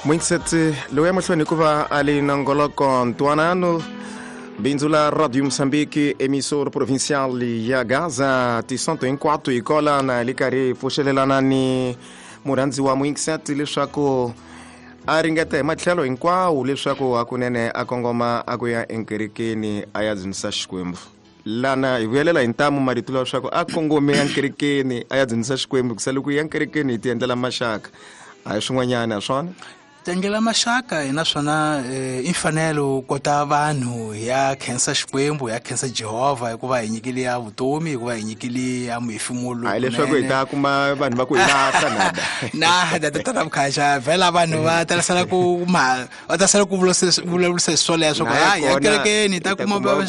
Muingiseti lowu ya mahlweni hikuva a li nongoloko ntwanano bindzu la Radio Moçambique, emissor provincial ya Gaza, tisonto hinkwato hi kola na li karhi hi pfuxelelana ni murhandzi wa muingiseti leswaku a ringeta hi matlhelo hinkwawo leswaku hakunene a kongoma a ku ya enkerekeni a ya dzunisa Xikwembu. Lana hi vuyelela hi ntamu marito lawa leswaku a kongome ya nkerekeni a ya dzunisa Xikwembu, kusa loko ya nkerekeni hi ti endlela maxaka a hi swin'wanyana swona. Tengela maxaka hi naswona i mfanelo kota vanhu ya khensa Xikwembu, ya khensa Jehovha hikuva hi nyikile ya vutomi, hikuva hi nyikile ya muhefemulo. Hayi leswaku hi ta kuma vanhu va ku hi lahla nada. Na da ta mkhaxa vhela vanhu va talasela ku ma va tasela ku vulavurisa swoleswo ku hayi ya kerekeni ta kuma va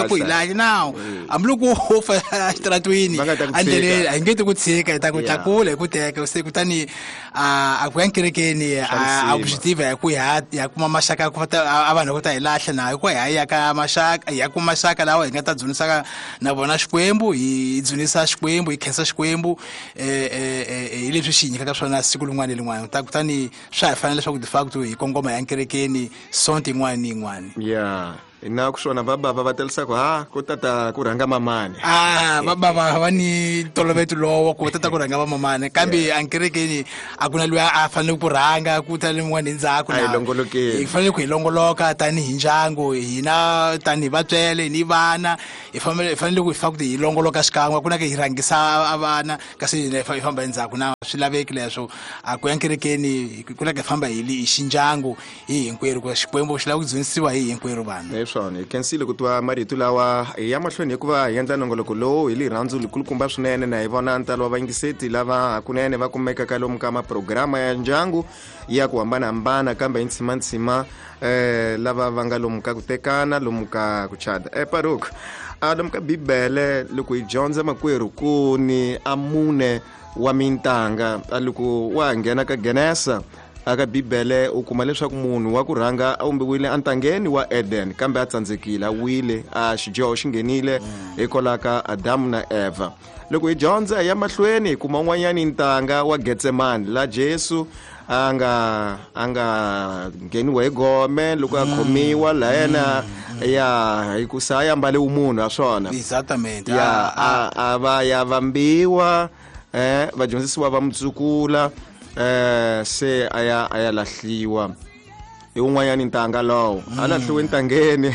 ku hi lahla now. Hambiloko u fa exitaratweni endleleni a hi nge ti ku tshika, hi ta ku tlakula hi ku teka se kutani a ku ya kerekeni a objective ya ku ya kuma maxaka ku ta a vanhu ku ta hi lahla na hikuva hi ya ka maxaka ya kuma maxaka lawa hi nga ta dzunisaka na vona Xikwembu, hi dzunisa Xikwembu, hi khensa Xikwembu hi leswi xi nyikaka swona siku rin'wana ni rin'wana. Kutani swa hi fanele leswaku de facto hi kongoma ya kerekeni sonto yin'wana ni yin'wana. Yeah. Na ku swona vabava va talisa ku ha ku tata ku rhanga mamani. Vabava va ni ntolovelo lowo ku tata ku rhanga vamamani, kambe ankerekeni a ku na loyi a fanele ku rhanga ku ta lin'wana endzhaku. A hi longolokeni. Hi fanele ku hi longoloka tanihi ndyangu, hina tanihi vatswele ni vana, hi fanele ku hi fa ku hi longoloka xikan'we, ku na ku hi rhangisa vana kasi hina hi famba endzhaku. Na swi laveki leswo a ku ya kerekeni ku na ku hi famba hi xindyangu hi hinkwerhu, ku Xikwembu xi lava ku dzunisiwa hi hinkwerhu vanhu. Swona hi khensile ku twa marito lawa ya mahlweni hikuva hi endla nongoloko lowu hi rirhandzu likulukumba swinene, na hi vona ntalo wa vayingiseti lava hakunene va kumekaka lomu ka maprograma ya ndyangu ya ku hambanahambana, kambe hi ntsimantsima lava va nga lomu ka ku tekana, lomu ka ku chada. Paruk, lomu ka Bibele loko hi dyondza makwerhu ku ni a mune wa mintanga, loko wa nghena ka Genesa aka Bibele u kuma leswaku munhu wa ku rhanga a umbiwile entangeni wa Eden, kambe a tsandzekile, a wile, a xidyoho xi nghenile hikwalaho ka Adamu na Eva. Loko hi dyondza ya mahlweni hi kuma un'wanyani ntanga wa Getsemani la Jesu a nga ngheniwa hi gome loko a khomiwa la yena ya hikusa a ambale umunhu a swona. Exactamente. Ya a va ya vambiwa, vadyondzisiwa va mutsukula, se a ya lahliwa hi un'wanyani ntanga lowo a lahliwe ntangeni.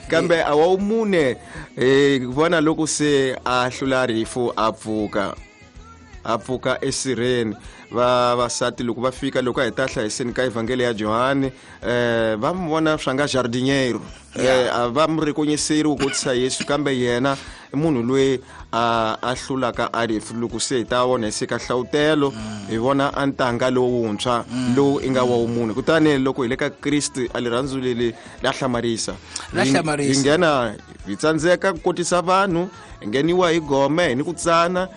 Kambe a wa mune hi vona loko se a hlula rifu a pfuka esirheni. Vavasati loko va fika loko a hi ta hlayiseni ka evhangeli ya Johani, va mu vona swa nga jardiniero, a va mu rekonyiseri ku kotisa Yesu, kambe yena i munhu loyi a hlulaka a rifu. Loko se hi ta vona hi se ka hlawutelo hi vona a ntanga lowuntshwa lowu i nga wa wumunhu. Kutani loko hi le ka Kriste a rirhandzu leri la hlamarisa, hi nghena hi tsandzeka ku kotisa vanhu, hi ngheniwa hi gome, hi ni ku tsana,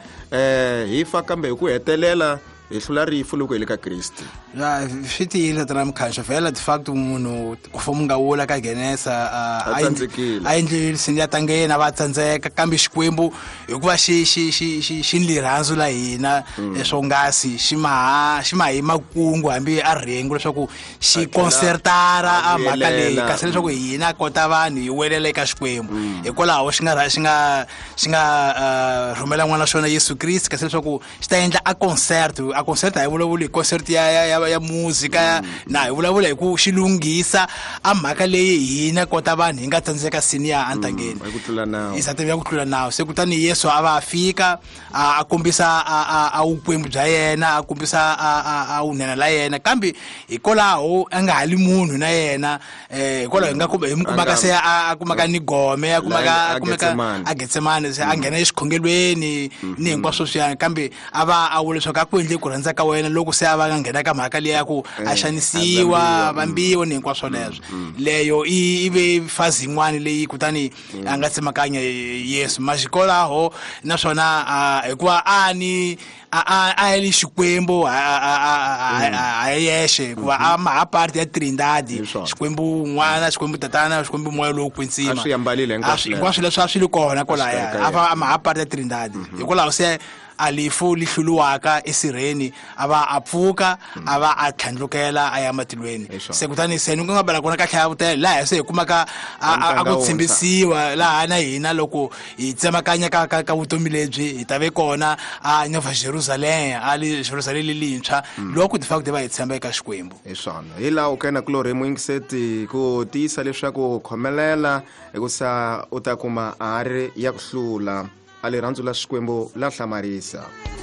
hi fa, kambe hi ku hetelela hi hlula rifu loko hi le ka Kriste. Swi tiyile tata Mkhansho, vhela de facto munhu ku foma nga wula ka Genesa a endlile sini ya tangeni a va tsandzeka, kambe Xikwembu hikuva xi xi xi xi xi ni rirhandzu la hina swongasi xi ma hi makungu hambi a rhengu leswaku xi concertara a mhaka leyi, kasi leswaku hina kota vanhu hi welela eka Xikwembu. Hikwalaho xi nga rhumela n'wana xona Yesu Kriste, kasi leswaku xi ta endla a concert. A concert a hi vulavuli hi concert ya muzika, na hi vulavula hi ku xi lunghisa a mhaka leyi hina kota vanhu hi nga tsandzeka sini ya entangeni ku tlula nawu, ya ku tlula nawu. Se kutani Yesu a va a fika a kombisa a vukwembu bya yena, a kombisa a vunene la yena, kambe hikwalaho a nga hali munhu na yena, hikwalaho hi nga hi mu kumaka se a kumaka ni gome, a kumaka a Getsemane, se a nghena exikhongelweni ni hinkwaswo swiyani, kambe a va a vula leswaku a ku endle ku rhandza ka wena loko se a va nga nghena ka mhaka liya ya ku a xanisiwa, vambiwa ni hinkwaswo leswo. Leyo i ve fazi yin'wana leyi kutani a nga tsemakanya Yesu maxikolaho, naswona hikuva a ni a li Xikwembu a yexe, hikuva a ma ha part ya Trinidad, Xikwembu n'wana, Xikwembu tatana, Xikwembu moya lowo kwetsima, a swi ambalile hinkwaswo leswi a swi li kona kwalaya, a ma ha part ya Trinidad. Hikwalaho se a lifu li hluliwaka esirheni, a va a pfuka, a va a tlhandlukela a ya matilweni. Se kutani se ni ku nga bela kona ka hlavutelo laha se hi kumaka a ku tshembisiwa laha na hina loko hi tsemakanya ka vutomi lebyi hi ta ve kona a Nova Jerusalem, a le Jerusalem lelintshwa, loko ti fa va hi tshemba eka Xikwembu. Hi swona hi laha u kena kulorhi muyingiseti ku tiyisa leswaku khomelela hikusa u ta kuma a ri ya ku hlula a rirhandzu la Xikwembu la hlamarisa.